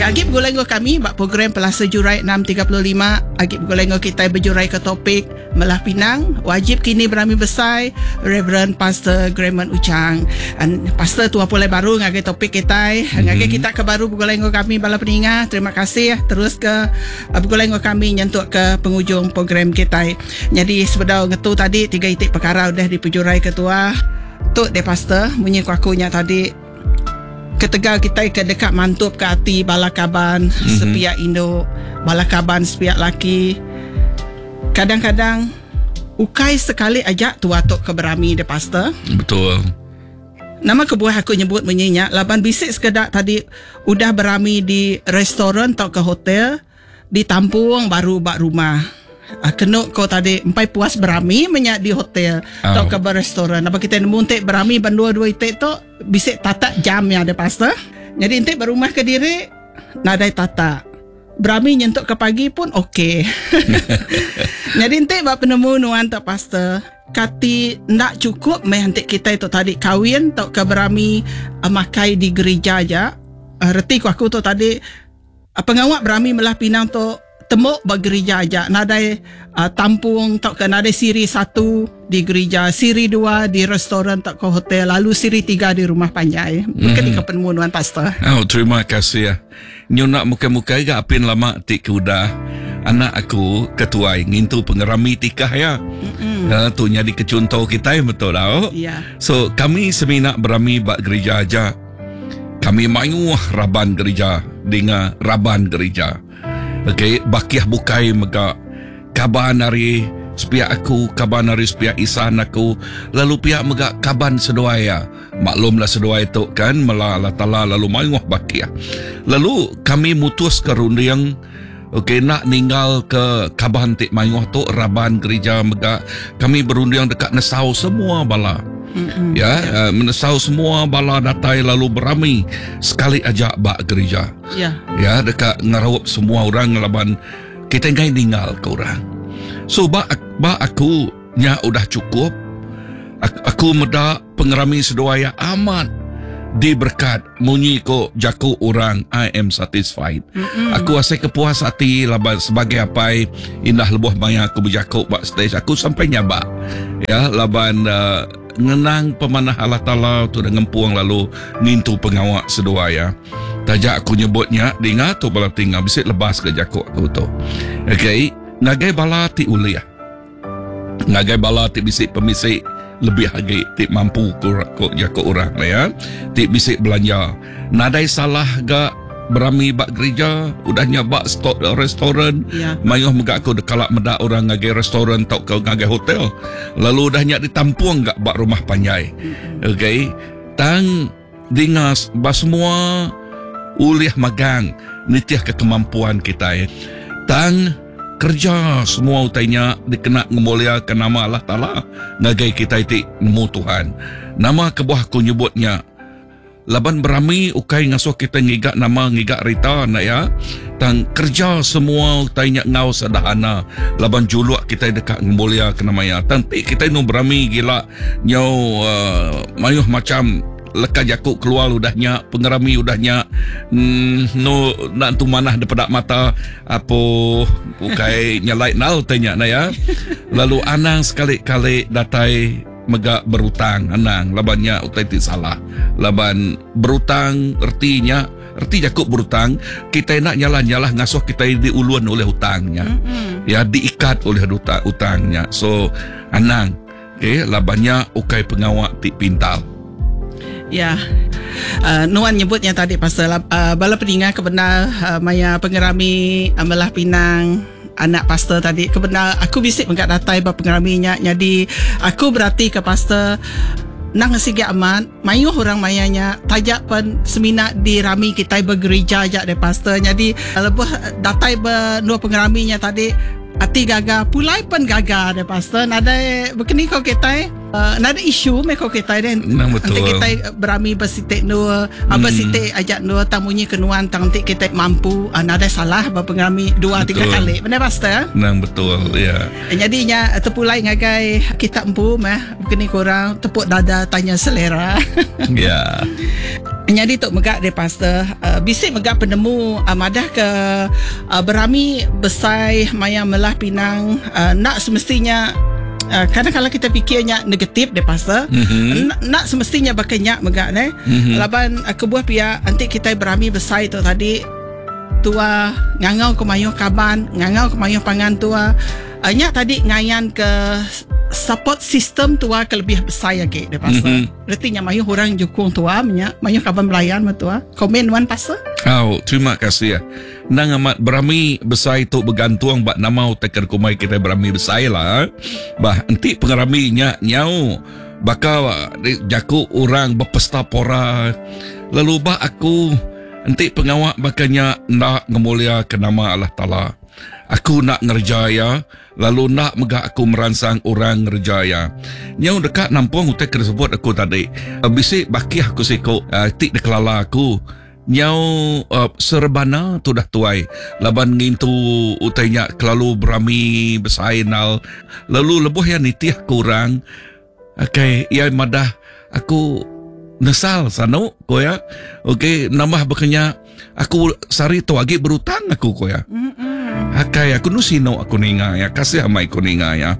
Ya agi begulai enggau kami ba program Pelasa Jurai 6.35 agi begulai enggau kitai bejurai ke topik Melah Pinang wajib kini berami besai Reverend Pastor Grahman Uchang. Pastor tua pulai baru ngagai topik kitai ngagai kita ke baru begulai enggau kami bala peninga terima kasih terus ke begulai enggau kami nyentuk ke pengujung program kitai. Nyadi sebedau ngetu tadi tiga iti pekara udah dipejurai ke tua tu deh pastor munyi ku aku nya tadi. Ketegal kitai ke deka mantupka ati bala kaban mm-hmm. sepiak indu, bala kaban sepiak laki, kadang-kadang ukai sekali aja tua tu ke berami deh pastor. Betul. Nama kebuah aku nyebut munyi nya laban bisi sekeda tadi udah berami di restoran tauka hotel Ditampung baru ba rumah. Kenu ko tadi empai puas berami menya di hotel oh. tauka ba restoran. Apa kita nemu enti berami ba dua dua iti tu bisi tatak jam nya ada pastor. Jadi enti ba rumah ke diri nadai tatak. Berami nyentuk ke pagi pun okey. Jadi enti ba penemu nuan tu pastor, kati enda cukup meh enti kitai tu tadi kawin tauka berami makai di gerija aja. Reti ku aku tu tadi Pengawa berami melah pinang tu tembu ba gerija aja nadai tampung tauka nadai siri satu di gerija, siri dua di restoran tauka hotel lalu siri tiga di rumah panjai. Baka ni ka penemu nuan pastor? Au terima kasih. Nyu enda mukai-mukai ga apin lama ti ke udah anak aku ke tuai ngintu pengerami tikah iya. Mm-hmm. Tu nyadi ke chunto kitai betul au. Yeah. So kami semina berami ba gerija aja. Kami mayuh raban gerija dinga raban gerija. Okey, bakih bukai mega kaban ari sepiak aku, kaban ari sepiak isan aku, lalu pia mega kaban seduai iya. Maklumlah seduai tu kan mela Allah Taala lalu mayuh bakih. Lalu kami mutuska runding okey enda ninggalka kaban ti mayuh tu raban gerija mega kami berunding deka nesau semua bala. Mm-hmm. Ya, yeah. menesau semua bala datai lalu berami sekali aja ba gerija. Ya. Yeah. Ya, deka ngeraup semua orang ngelaban kita enggai ninggal ke orang. So ba ba aku nya udah cukup. Aku meda pengerami seduai amat diberkat munyi ko jaku orang I am satisfied. Mm-mm. Aku asai ke puas ati laban sebagai apai indah lebuh maya aku bejaku ba stage aku sampai nyabak. Ya laban uh, ngenang pemanah Allah Taala tu dah ngempung lalu ngintu pengawa seduai ya. Taja aku nyebut nya dinga tu bala tinga bisi lebas ke jaku aku tu. Okey, ngagai bala ti ulih. Ngagai bala ti bisi pemisi lebih agi ti mampu ku ku jaku orang ya ti bisi belanja. Nadai salah ga berami ba gerija udah nya ba sto restoran Ya. mayuh mega aku kala meda orang ngagai restoran tauka ngagai hotel lalu udah nya ditampung ga ba rumah panjai. Okey tang dinga ba semua ulih magang nitihka kemampuan kitai. Tang kereja semua utai nya dikena ngemuliaka nama Allah Taala ngagai kitai ti nemu Tuhan. Nama kebuah aku nyebut nya? Laban berami ukai ngasuh kitai ngiga nama ngiga rita enda iya. Tang kereja semua utai nya enggau sederhana laban juluk kitai deka ngemuliaka nama iya. Tang ti kitai enu berami gila nyau uhh mayuh macham leka jaku keluar udah nya pengerami udah nya uhh enu enda entu manah dipeda mata apo ukai nyelai enggau utai nya enda iya. Lalu anang sekali-kali datai mega berutang anang laban nya utai ti salah laban berutang reti nya Reti jaku berutang, kitai enda nyalah-nyalah ngasuh kitai diulun oleh utang nya. Mm-hmm. Ya diikat oleh duta utang nya. So anang okay, laban nya ukai pengawa ti pintar. Ya. Uh, nuan nyebutnya tadi pasal uh, bala peninga ke bendar uh, maya pengerami uh, melah pinang anak pastor tadi ke bendar aku bisi mega datai ba pengerami nya jadi aku berati ke pastor nang sigi amat Mayuh orang maya nya taja pen semina dirami kitai begerija aja deh pastor nyadi lebuh datai ba endur pengerami nya tadi ati gaga pulai pen gaga deh pastor nadai bekeni ko kitai nadai isu meh ko kitai deh enti kitai berami ba siti endur ba siti aja endur tang munyi ke nuan tang enti kitai mampu nadai salah ba pengerami dua tiga kali bendar pastor. Nang betul ya. Nyadi nya tepulai ngagai kita empu meh. Keni ku orang tepuk dada tanya selera. Ya. Nyadi tu mega deh pastor, bisi mega penemu madah ke berami besai maya melah pinang enda semestinya kadang kala kita pikir nya negatif deh pastor. Enda semestinya baka nya mega neh. Laban kebuah pia enti kitai berami besai tu tadi tua ngangau ke mayuh kaban, ngangau ke mayuh pangan tua. Nya tadi ngayan ke support system tua ke lebih besai agi deh pastor. Reti nya mayuh orang jukung tua menya, mayuh kaban belayan meh tua. Komen nuan pastor. Au, terima kasih. Endang amat berami besai tu begantung ba nama utai ke dikumbai kitai berami besai lah. Bah enti pengerami nya nyau baka jaku orang bepesta pora lalu ba aku enti pengawa baka nya enda ngemuliaka nama Allah Taala. Aku enda ngereja iya lalu enda mega aku meransang orang ngereja iya. Nyau deka nampung utai ke disebut aku tadi, bisi bakih aku siku ti dikelala aku nyau serebana tudah tuai laban ngintu utai nya kelalu berami besai enal lalu lebuh iya nitih ke orang Okay, iya madah aku nesal sanu ko iya. Okey, nambah baka nya aku sehari tu agi berutang aku ko iya. Akai aku nu sinu aku ninga iya, kasih amai aku ninga iya.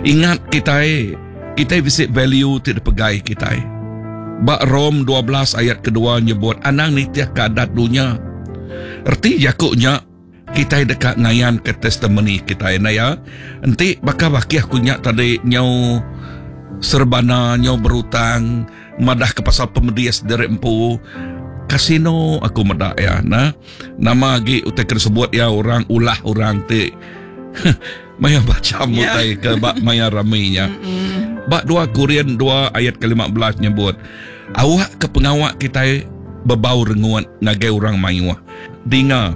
Ingat kitai, kitai bisi value ti dipegai kitai. Ba Rom 12 ayat kedua nyebut anang nitihka adat dunya. Reti jaku nya Kitai deka ngayanka testimoni kitai enda iya. Enti baka bakih aku nya tadi nyau serebana nyau berutang madahka pasal pemedis diri empu kasino aku meda iya nah. Nama agi utai ke disebut iya orang ulah orang ti maya bacham utai ke ba maya rami nya. Ba dua Korin dua ayat ke 15 nyebut awak ke pengawa kitai bebau rengut ngagai orang mayuh. Dinga,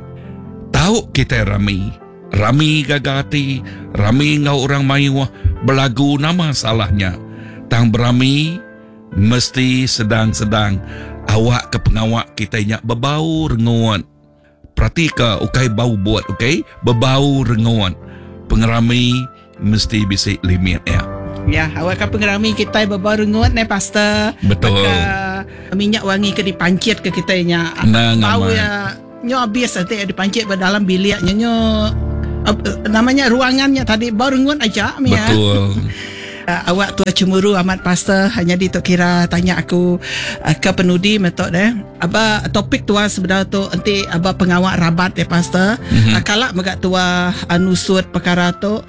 tau kitai rami. Rami gaga ati, rami enggau orang mayuh belagu nama salah nya. Tang berami mesti sedang-sedang awakka pengawa kitai nya bebau rengut. Peratika ukai bau but okay, bebau rengut. Pengerami mesti bisi limit iya. Ya, awakka pengerami kitai bebau rengut neh pastor. Betul. Baka minyak wangi ke dipanchit ke kitai nya. Endang Bau amat. iya nyu abis enti iya dipanchit ba dalam bilik nya nyu nama nya ruangan nya tadi bau rengut aja mih iya. Betul. Awak tua cemburu amat pastor nyadi tu kira tanya aku ke penudi meh tu deh. Aba topik tua sebedau tu enti aba pengawa rabat deh pastor. Mm-hmm. Kala mega tua nusut perkara tu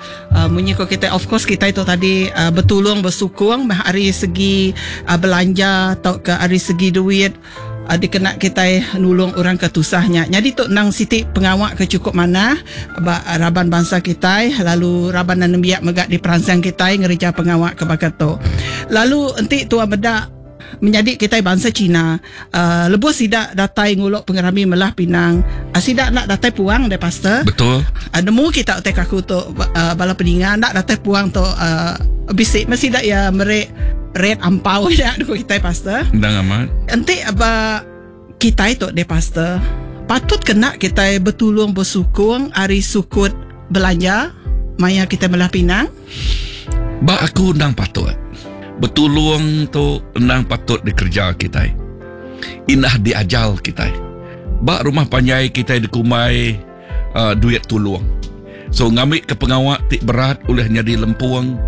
munyi ko kitai of course kitai tu tadi betulung besukung meh ari segi belanja tauka ari segi duit dikena kitai nulung orang ke tusah nya. Nyadi tu endang siti pengawa ke chukup manah ba raban bansa kitai lalu raban nembiak mega diperansang kitai ngereja pengawa ke baka tu. Lalu enti tua meda menyadi kitai bansa Cina lebuh sida datai ngulu pengerami melah pinang sida enda datai puang deh pastor. Betul. Nemu kita utai ke aku tu bala peninga enda datai puang tu bisi meh sida iya meri red ampau nya ku kitai pastor. Endang amat. Enti ba kitai tu deh pastor patut ke enda kitai betulung besukung ari sukut belanja maya kitai melah pinang? Ba aku endang patut. Betulung tu endang patut dikereja kitai. Indah diajal kitai. Ba rumah panjai kitai dikumbai uh, duit tulung. So ngambika pengawa ti berat ulih nyadi lempung.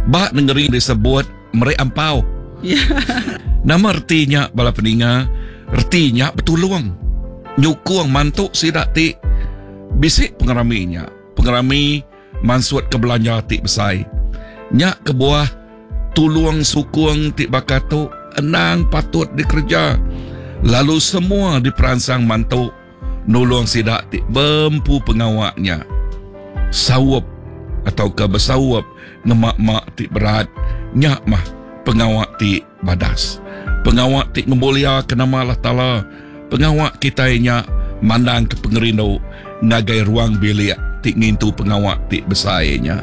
Ba nengeri disebut meri ampau. Nama reti nya bala peninga? Reti nya betulung. Nyukung mantu sida ti bisi pengerami nya. Pengerami mansutka belanja ti besai. Nya kebuah tulung sukung ti baka tu endang patut dikereja lalu semua diperansang mantu nulung sida ti bempu pengawa nya saup tauka besaup ngema ma ti berat nya mah pengawa ti badas. Pengawa ti ngemuliaka nama Allah Taala. Pengawa kitai nya mandangka pengerindu ngagai ruang bilik ti ngintu pengawa ti besai nya.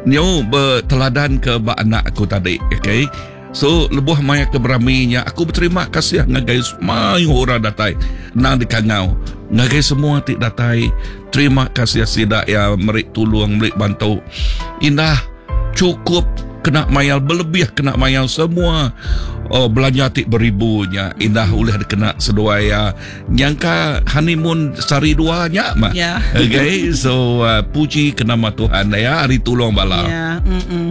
Nyu beteladanka ba anak aku tadi, okay. So lebuh maya ke berami nya aku beterima kasih ngagai mayuh orang datai endang dikangau ngagai semua ti datai terima kasih sida iya meri tulung meri bantu. Indah chukup kena mayar belebih kena mayar semua. Oh belanja ti beribu nya indah ulih dikena seduai iya nyangka honeymoon sehari dua nya mah. Ya. Okay, so uh, puji ke nama Tuhan ya ari tulung bala. Ya, mm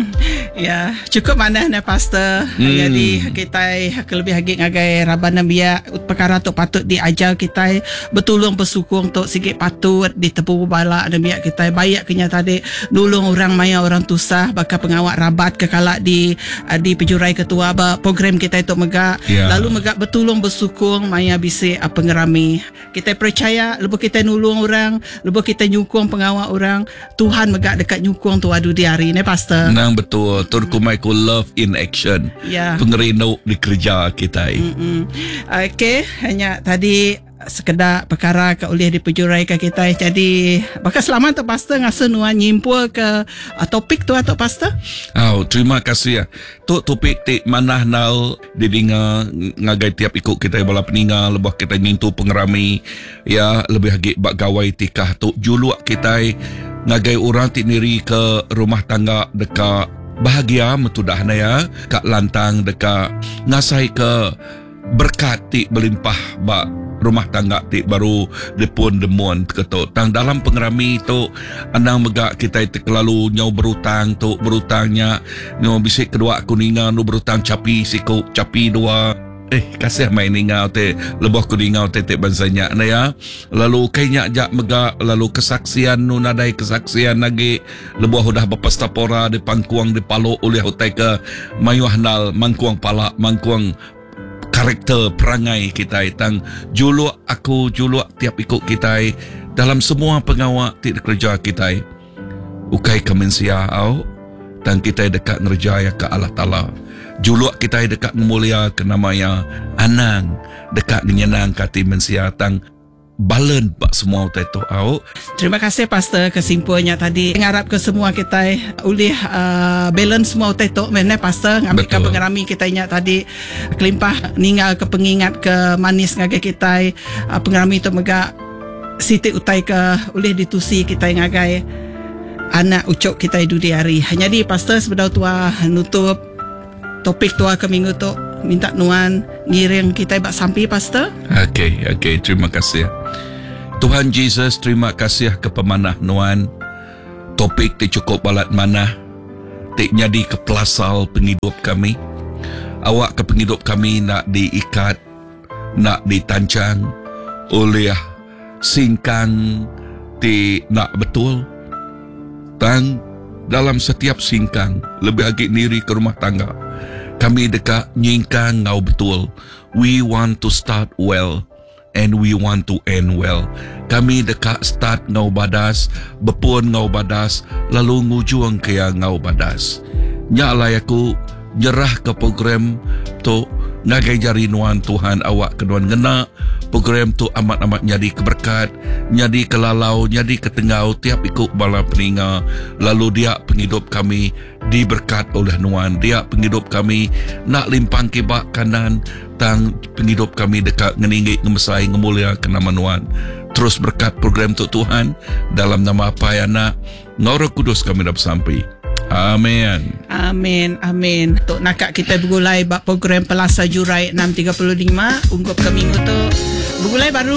Ya, cukup manah ne pastor. Jadi kitai kelebih agi ngagai raban nembiak perkara tu patut diajar kitai betulung besukung tu sigi patut ditepu bala nembiak kitai baik ke nya tadi nulung orang maya orang tusah baka pengawa rabat ke kala di di pejurai ketua ba program kitai tu mega Ya. lalu mega betulung besukung maya bisi pengerami. Kitai percaya lebuh kitai nulung orang, lebuh kitai nyukung pengawa orang, Tuhan mega deka nyukung tua dudi hari ne pastor. Nang betul tur kumai ku love in action. Ya. Pengerindu dikereja kitai. Mm. Okey, nya tadi sekeda pekara ke ulih dipejuraika kitai. Jadi baka selama tu pastor ngasuh nuan nyimpul ke uh, topik tu atau pastor? Au, terima kasih. Tu topik ti manah nal didinga ngagai tiap iku kitai bala peninga lebuh kitai ngintu pengerami ya lebih agi ba gawai tikah tu juluk kitai ngagai orang ti niri ke rumah tangga deka bahagia metudah na ya ka lantang deka ngasai ke Berekat ti belimpah ba rumah tangga ti baru dipun demun ke tu. Tang dalam pengerami tu anang mega kitai ti kelalu nyau berutang tu berutang nya nyau bisi kedua aku ninga anu berutang chapi siku chapi dua. Eh kasih mai ninga ti lebuh ku ninga utai ti bansa nya ne ya. Lalu ukai nya aja mega lalu kesaksian nu nadai kesaksian agi lebuh udah bepesta pora dipangkung dipalu ulih utai ke mayuh andal mangkung pala mangkung karakter perangai kitai tang juluk aku juluk tiap iku kitai dalam semua pengawa ti dikereja kitai ukai ke mensia au tang kitai deka ngereja iya ke Allah Taala juluk kitai deka ngemulia ke nama iya anang deka ngenyenangka ati mensia tang Balen ba semua utai tu au. Terima kasih pastor ke simpul nya tadi. Ngarap ke semua kitai ulih uh, balance semua utai tu meh neh pastor ngambika pengerami kitai nya tadi kelimpah ninggal ke pengingat ke manis ngagai kitai uh, pengerami tu mega siti utai ke ulih ditusi kitai ngagai anak ucuk kitai dudi hari. Nyadi pastor sebedau tua nutup Topik tua ke minggu tu minta nuan ngiring kitai ba sampi pastor. Okey, okey, terima kasih. Tuhan Jesus, terima kasih ke pemanah nuan. Topik ti cukup balat manah ti nyadi ke pelasal pengidup kami. Awak ke pengidup kami nak diikat, nak ditancang oleh singkang ti nak betul. Tang, dalam setiap singkang, lebih agi niri ke rumah tangga, kami deka nyingkang enggau betul. We want to start well and we want to end well. Kami deka start enggau badas, bepun enggau badas, lalu ngujungka iya enggau badas. Nya alai aku nyerahka program tu ngagai jari nuan Tuhan awakka nuan ngena program tu amat-amat nyadi ke berekat, nyadi ke lalau, nyadi ke tenggau tiap iku bala peninga lalu dia pengidup kami diberkat oleh nuan. Dia pengidup kami enda limpang kiba kanan tang pengidup kami deka ngeninggi ngemesai ngemuliaka nama nuan. Terus berkat program tu Tuhan dalam nama Apai Anak Enggau Roh Kudus kami dah besampi. Amin. Amin. Amin. Tu naka kita begulai ba program Pelasa Jurai 6.35 ungkup ke minggu tu. Begulai baru.